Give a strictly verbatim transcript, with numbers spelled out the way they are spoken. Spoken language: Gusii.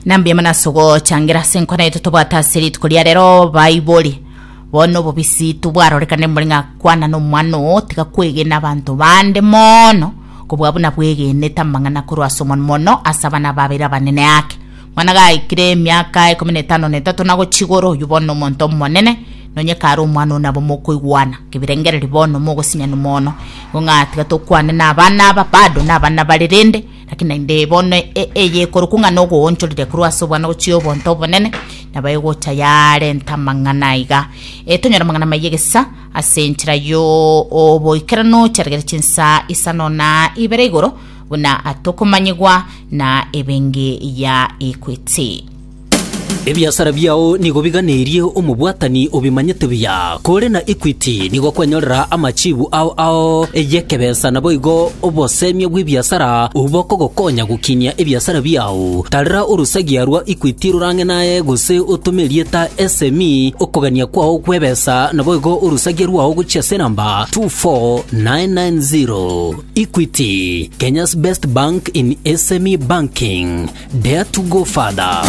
Nambia mana ase ogochangira ase enkwana yaito tobwate ase rituko ria rero. Baibori, bono obobisi tobwarorekane mbori ng'a kwana na omwana oo, tiga kwegena abanto bande mono kobua buna bwegenete amang'ana korwa ase omwana, mono ase abana babere abanene ake. Mwana gaikire emiaka ikomi na etano na etato na gochia igoro, oywo bono omonto omonene, nonye kare omwana oo nabo mokoigwana kebirengereri, bono mogosinyana mono. Igo ng'a tiga tokwane na abana aba, bado na abana bare rende, lakini naende bono e- eye ekorokwa ng'a nogoonchorire korwa ase obwana gochia obonto obonene, nabo egocha yarenta amang'ana iga. E, tonyora amang'ana maiye egesa ase enchera yo oboikeranu chiaregere chinsa isano na ibere igoro buna atokomanyigwa na ebengi ya Equity. Ebiasara biao nigo biganeirie omobwatani obimanyete buya. Kore na Equity nigo kwenyorera amachibu ao ao eyekebesa, nabo igo obosemia bwa ebiasara obokogokonya gokinia ebiasara biao. Tarera orusagia rwa Equity rorang'e naye gose otome erieta S M E, okogania kwao kwebesa, nabo igo orusagia rwao gochia ase namba two four nine nine zero. Equity, Kenya's best bank in S M E banking. Dare to go further.